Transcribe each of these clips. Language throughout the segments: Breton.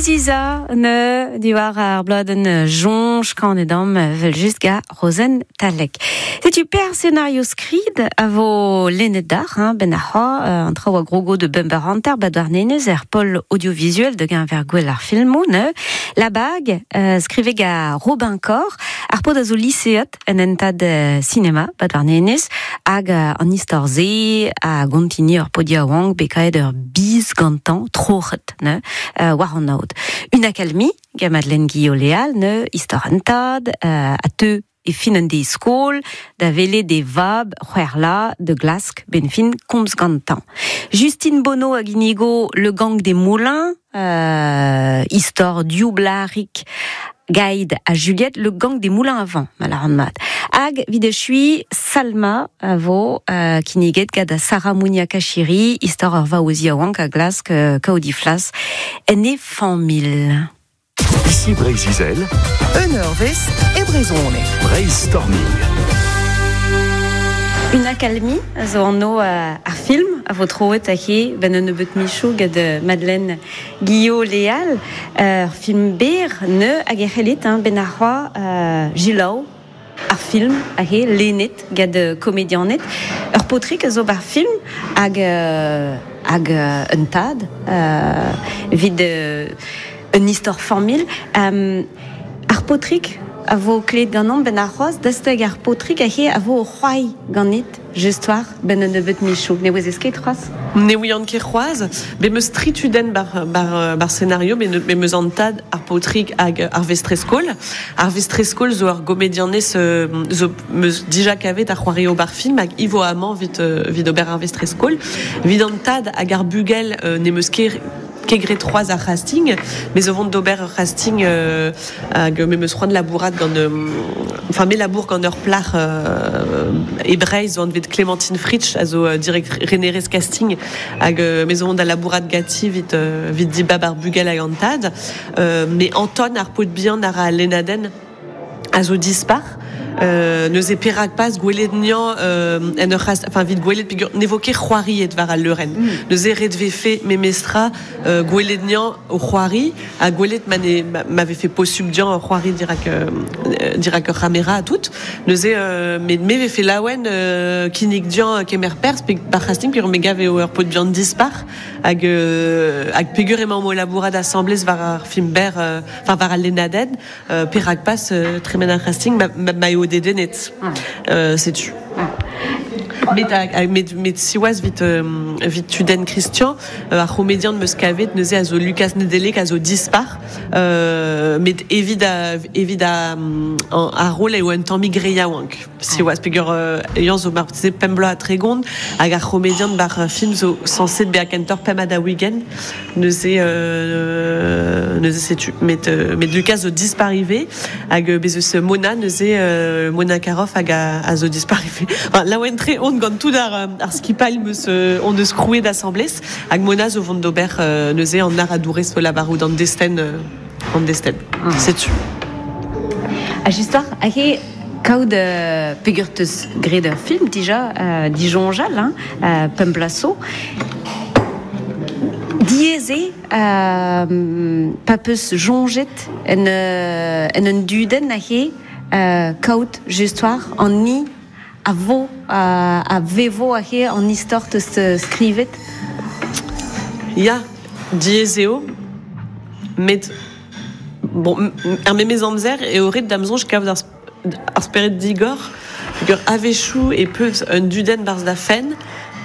Ziziza ne diwar ar bladenn jonch kanet am vel just ga Rozen Talek. Setu per scenario skrid a vo lennet d'ar, hein, ben ar c'hoa, an traoù a grogo de bember hanter bat war nenez er pol audiovisuel de genver gwell ar filmou, ne. La bag, skrive ga Robin Cor, ar pod a zo liseat en entad cinema bat war nenez, hag an istor ze a gontini ur podia oank bekaet ur biz gantan troc'het, ne, war an aod. Une akalmi, ga Madeleine Guillaume-Léal, ne, istor an tad, a teu e fin an de skol, da vele de vab c'hwerla de glask ben fin komz gantan. Justine Bonneau hag inigo Le Gang des Moulins, istor dioublarik Gaïd a Juliette, Le Gang des Moulins à vent, malaran mat. Hag videchui Salma a vo kiniget gad a Sarah Mounia Kachiri, istor ur vaozi a oank a glask kaodiflas en e famil. Ici Breiz-Izel, Un eurvez e brezhoneg. Brainstorming. Une akalmi a zo anno ar film a vo troet a he ben un nebeut michou gad Madeleine Guillaume-Léal ur film ber ne hag e c'hellit hein, ben ar c'hoa jilaou ar film a he lennet gad komedianet ur potrik a zo bar film hag un tad vid un istor famil ar potrik a vo klet ganon ben ar c'hoaz dasteg ar potrik a he a vo o c'hoai ganit just war ben un nebeut michou. Ne ouez ket c'hoaz? Ne ouian ket c'hoaz, be meus tri tudenn bar scenario, be meus an tad ar paotrig hag ar vestrez-skol. Ar vestrez-skol zo ur gomedianez zo meus dija kavet ar c'hoario bar film hag ivo amañ vit ober ar vestrez-skol. Vit an tad hag ar bugel ne meus ket kegret c'hoaz ar casting, me zo vont d'ober ur casting hag me meus c'hoant labourat gant enfin me labour gant ur plac'h e Breizh zo anvet Clémentine Fritsch a zo direct renerez casting hag me zo vont da labourat gati vit dibab ar bugel hag an tad. Me Anton ar paotr bihan ar a Lenaden a zo dispar. Neuze perak pas gwelet nian en ur c'hast, enfin vit gwelet peogwir ne vo ket c'hoariet war al leurenn. Neuze ret vefe memestra gwelet nian o c'hoari ha gwelet ma ne, ma, ma vefe posubl dian o c'hoari dirak ur c'hamera a tout. Neuze me vefe laouen kinnig dian kemer perz pe bar c'hasting peogwir me gav eo ur paotr bihan dispar hag peogwir emañ o labourat asamblez war ar film ber enfin war al Lenaden perak pas tremen ar c'hasting ma eo dedennet. Setu. Met met siwazh vit tudenn Christian, ar c'homedian meus kavet neuze a zo Lucas Nedelec a zo dispar, met evit a rol eo un tammig re yaouank. Siwazh peogwir eñ zo marteze pemp bloaz ha tregont hag ar c'homedian bar film zo sañset bezañ kentoc'h pemp ha daou-ugent. Neuze setu. Met Lucas zo dispar ivez hag bez eus Mona neuze Mona Caroff hag a zo dispar ivez. Enfin, laouen tre on gant tout ar skipail meus on eus krouet asamblez hag Mona zo vont d'ober neuze an ar adourez o lavarout an desten. Setu. A just war, hag he kaout peogwir teus graet ur film dija dijonjal, hein, pemp bloaz zo. Diaes eo pa peus jonjet en un dudenn hag he kaout just war an ni a vo a vevo hag he an istor teus skrivet. Ya, diaes eo, met bon, ar memes amzer eo ret da'm soñj kaout ar spered digor, peogwir a-wechoù e peus un dudenn barzh da fenn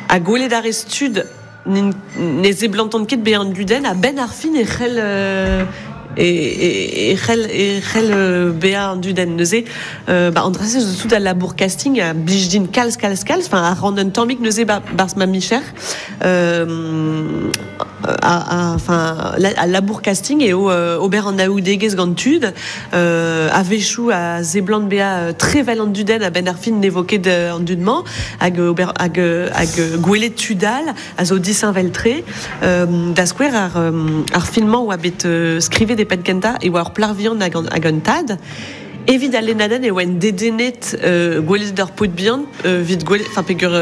ha gwelet ar re stud ne seblantant ket bezañ an dudenn a benn ar fin e c'hell e c'hell bezañ an dudenn neuze ba an dra-se zo tout al labour casting a blij din kalz kalz kalz, enfin a ran un tammig neuze barzh ma micher enfin al labour casting eo ober an aoudegezh gant tud a-wechoù a seblant bezañ trevel an dudenn a benn ar fin ne vo ket an dud-mañ hag ober hag gwelet tud all a zo disheñvel-tre da skouer ar film-mañ oa bet skrivet e penn kentañ e oa ur plac'h vihan hag un tad. Evit al Lenaden e oa dedennet gwelet ur paotr bihan vit gwelet, enfin peogwir